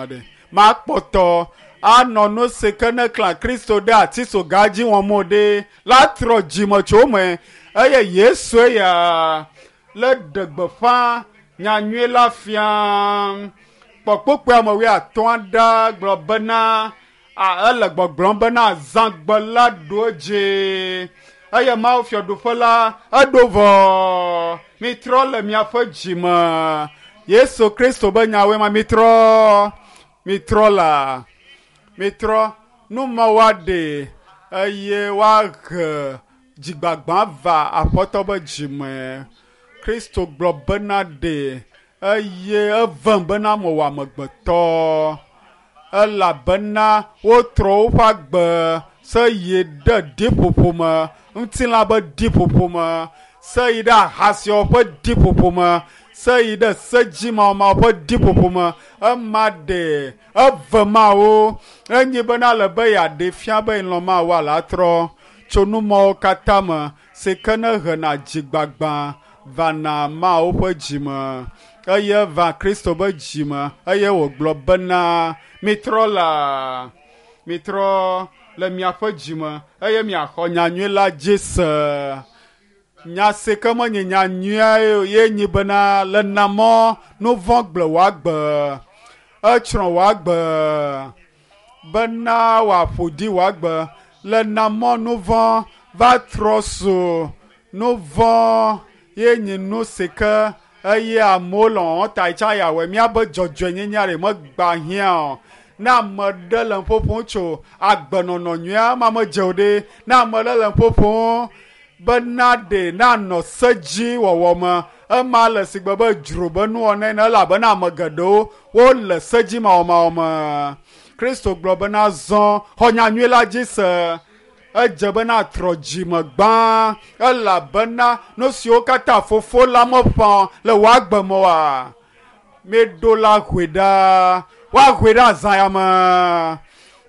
Aɖe. Makpɔtɔ anɔ nu si ke ne klã Kristo ɖe atisoga dzi wɔm o ɖe la trɔ dzime tso eme eye Yesu eya le ɖe gbeƒã nyanyui la fia. Kpɔkpɔkpɔe ame wuiatɔ̃a ɖa gblɔ bena ele gbɔgblɔm bena zãgbe la ɖo edzi eye Mawu fiaɖuƒe la eɖo vɔ. Mitrɔ le miaƒe dzime. Yesu Kristo be nyawoe ma mitrɔ mitrɔ la mitrɔ nu ma woaɖe eye woahe dzigbagba va aƒetɔ be dzime. Kristo gblɔ bena ɖe eye evem bena mewɔ amegbetɔ elabena wotrɔ woƒe agbe se yi ɖe ɖiƒoƒo me, ŋutilã be ɖiƒoƒo me, se yi ɖe ahasiawo ƒe ɖiƒoƒo me, se yi ɖe sedzimawɔmawɔ ƒe ɖiƒoƒo me. Ema ɖe eve mawo enyi bena le be yeaɖe fia be yelɔ̃ Mawu ala trɔ tso nu mawo katã me si ke ne hena dzigbagba vana Mawu ƒe dzime eye va Kristo be dzime eye wògblɔ bena mitrɔ la mitrɔ le miaƒe dzime eye miaxɔ nyanyui la dzi se. Nya si ke menye nyanyuia ye nyi bena le na mɔ nu vɔ̃ gblẽ wò agbe, etsrɔ̃ wò agbe bena wòaƒo ɖi wò agbe. Le na mɔ nu vɔ̃ va trɔ su nu vɔ̃ ye nyi nu si ke eye amewo lɔ̃ ta tsa yawɔe míabe dzɔdzɔenyenye ɖe megba hiã o. Ne ame ɖe le ƒoƒom tso agbenɔnɔ nyuia ma medze o ɖe. Ne ame ɖe le ƒoƒom bena ɖe nanɔ se dzi wɔwɔ me ema le si gbe be dzro be nuwɔna ene elabena ame geɖewo wole se dzi mawɔmawɔ me. Kristo gblɔ bena zɔ xɔ nyanyui la dzi se. Edze bena trɔ dzime gbã elabena nu siwo katã fofo la meƒã le wò agbe me oa, míeɖo la hoe ɖa. Woahoe ɖe azã ya me.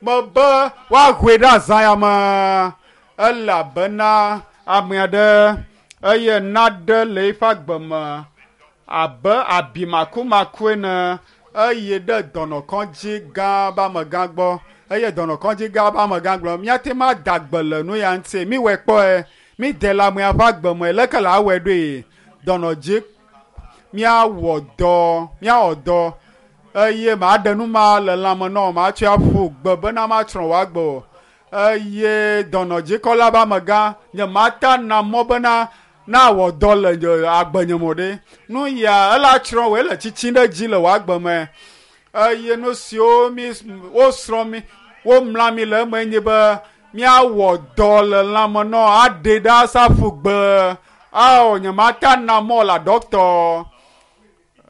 Mebe woahoe ɖe azã ya me elabena ame aɖe eye naɖe le eƒe agbe me abe abi makumaku ene eye ɖe dɔnɔkɔdzi gã be amegã gbɔ eye dɔnɔkɔdzi gã be amegã gblɔ míate ŋu ada gbe le nu ya ŋuti miwɔe kpɔe mide le amea ƒe agbe me leke le awɔe ɖoe dɔnɔdzi míawɔ dɔ míawɔ dɔ eye maɖe nu ma le lãme nɔ matsɔe aƒu gbe bena matsrɔ̃ wò agbe o eye dɔnɔdzikɔla be amegã nye mata na mɔ bena na wɔ dɔ le nye agbe nye me o ɖe nu ya ela tsrɔ̃ wò ele tsitsim ɖe dzi le wò agbe me eye nu siwo mi wosrɔ̃ mi womla mi le eme nye be míawɔ dɔ le lãme nɔ aɖe ɖa saƒu gbe ao nye mata na mɔ la dɔkitɔ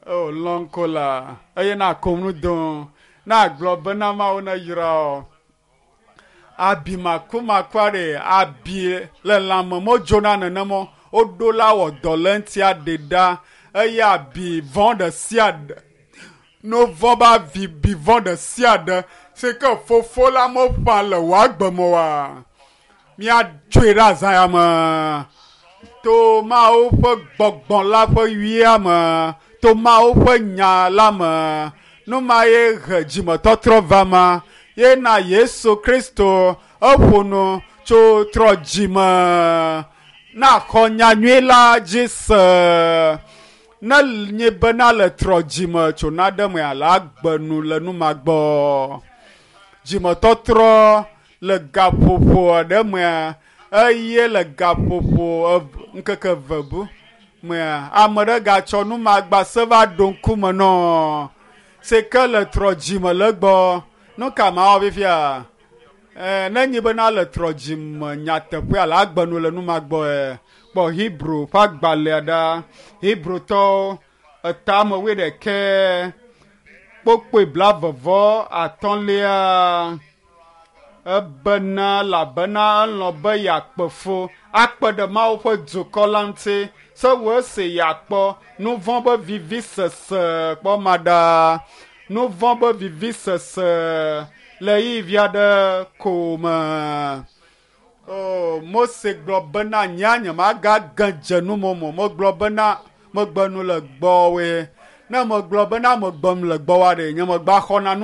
o lɔnko la eye na kom nu do na gblɔ bena Mawu ne yra o abi makumaku aɖe abi le lãme medzona nenema woɖo la wɔ dɔ le ŋuti aɖe ɖa eye abi vɔ̃ ɖe sia ɖe nu vɔ̃ be avi bi vɔ̃ ɖe sia ɖe si ke fofo la meƒã le wò agbe me oa míatsoe ɖe azã ya me to Mawu ƒe gbɔgbɔ la ƒe wuia me to Mawu ƒe nya la me nu ma ye he dzimetɔtrɔ va ma ye na Yesu Kristo eƒo nu tso trɔ dzime na xɔ nyanyui la dzi se ne nye bena le trɔ dzime tso naɖe me ala agbe nu le nu ma gbɔ dzimetɔtrɔ le gaƒoƒo aɖe mea eye le gaƒoƒo ŋkeke eve bu mea ame ɖe gatsɔ numagba se va ɖo ŋkume nɔ si ke le trɔ dzime le egbɔ nu ka mawɔ fifia ne nyi bena le trɔ dzime nyateƒe ala agbe nu le nu ma gbɔe kpɔ Hebrew ƒe agbalẽa ɖa Hebrewtɔwo etame wuiɖekɛ kpokpoe blavevɔ atɔ̃lia ebena elabena elɔ̃ be yeakpe fu akpe ɖe Mawu ƒe dukɔ la ŋuti se wò esi yeakpɔ nu vɔ̃ be vivisese kpɔ ma ɖa nu vɔ̃ be vivisese le ɣeyiɣi aɖe ko me. O Mose gblɔ bena nye nyemagage dze numomo megblɔ bena megbe nu le gbɔwoe ne megblɔ bena megbem le gbɔwoa ɖe nye megba xɔna nu.